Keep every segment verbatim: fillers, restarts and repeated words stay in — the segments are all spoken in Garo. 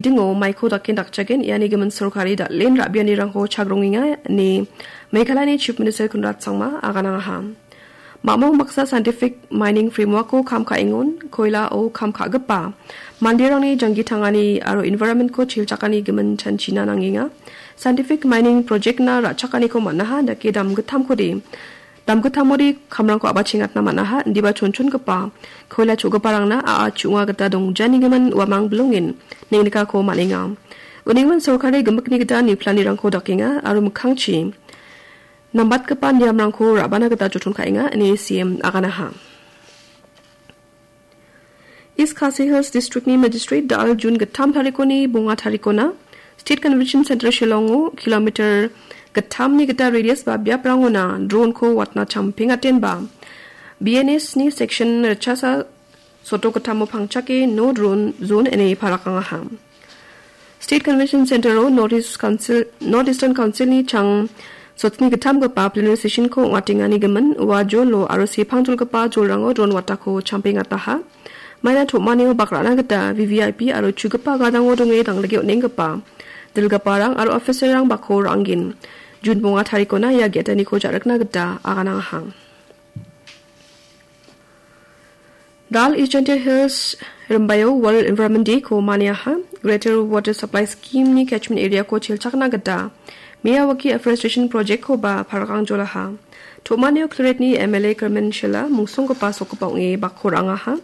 Dingo maiko daken dakjagen iani gimin sorkari dal·en ra·bianirangko chagrongenga ine Meghalayani Chief Minister Conrad Sangma aganangaha. Mamung baksa scientific mining framework-o kam ka·engon, koilao kam ka·gipa manderangni janggi tangani aro environment-ko chilchakani gimin chanchina nangenga. Scientific mining project-na ra·chakaniko man·aha, dake damgittamkode, damgittamode kamrangko a·bachengatna man·aha, indiba chonchongipa koila cho·giparangna a·a chu·onga gita dongjanigimin uamang bilongen nengnikako man·enga. Unigimin sorkari gimikni gita niplanirangko dakenga aro mikkangchi nambatgipa niamrangko ra·bana gita joton ka·enga ine C M aganaha. East Khasi Hills District-ni Magistrate dal June gittam tarikoni bonga tarikona State Convention Center Shillongo kilometer gittamni gita radius ba biaprangona drone-ko watna champengatenba B N S-ni section ritchasa soto gittamo pangchake no drone zone ine parakangaha. State Convention Center-o North East Council, North Eastern Council-ni chang sotni gittamgipa plenary session-ko ong·atengani gimin ua jolo aro sepangjolgipa jolrango drone watako champengataha. Maina tom·anio bak ra·na gita V V I P aro chugipa gadango donge dangdike on·enggipa dilgiparang aro officer-rang bakko ra·angen. June bonga tarikona ia ge·gitaniko ja·rikna gita aganangaha. Dal East Jaintia Hills Rimbaio World Environment Day-ko maniaha. Greater Water Supply Scheme-ni catchment area-ko chilchakna gita Miyawaki Afforestation Project-koba parakangjolaha. Tom·anio Clerate-ni M L A Kyrmen Shylla mungsonggipa sokgipa ong·e bakko ra·angaha.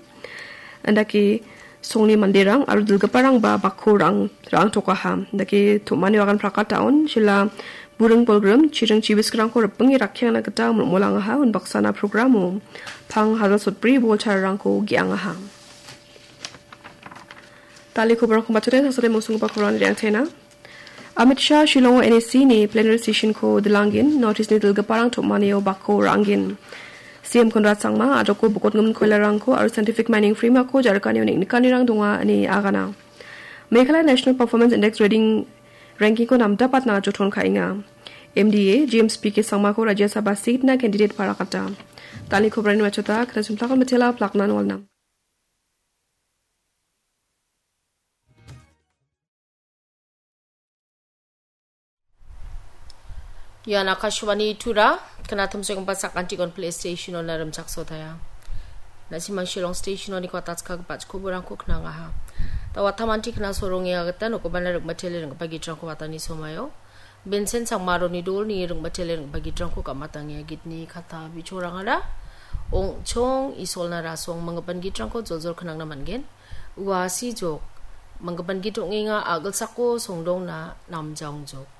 Indake songni manderang aro dilgiparangba bakko ra·ang-, ra·angtokaha. Indake tom·anio agan prakataon Shylla buring bolgrim chiring chibisgrangko ripinge rakkiangna gita molmolangaha. Unbaksana programo pang hajal sotbri bol chararangko ge·angaha. Dal·e koborangko matchode saksade mungsonggipa koborangni re·angchena. Amit Shah Shillongo N E C-ni plenary session-ko dilanggen, North East-ni dilgiparang tom·anio bakko ra·angen. C M Conrad Sangma, a·doko bokotgimin koilarangko aro scientific mining framework-ko ja·rikanio neng·nikanirang donga ine agana. Meghalaya National Performance Index Rating ranking-ko namdapatna joton ka·enga. M D A James P K Sangmako Rajya Sabha seat-na candidate parakata. Dal·e koborangni matchota, kena simplakon mitela, plakna nolna. Ian Akashvani Tura, kena tumsenggipa sakantikon play station-ona rimchaksotaia. Na·simang Shillong station-oni kuatatskagipa chikoborangko knangaha. Da watamanti kena soronge agata nokobana rikmatele ringgipa gitrangko watani somaio. Vincent Sangmaroni dolni ringmatele ringgipa gitrangko gamatange gitni kata bichorangara ong·chong isolna rasong manggipan gitrangko joljol knangna man·gen. Ua sijok manggipan git ong·enga a·gilsako songdongna namjaongjok.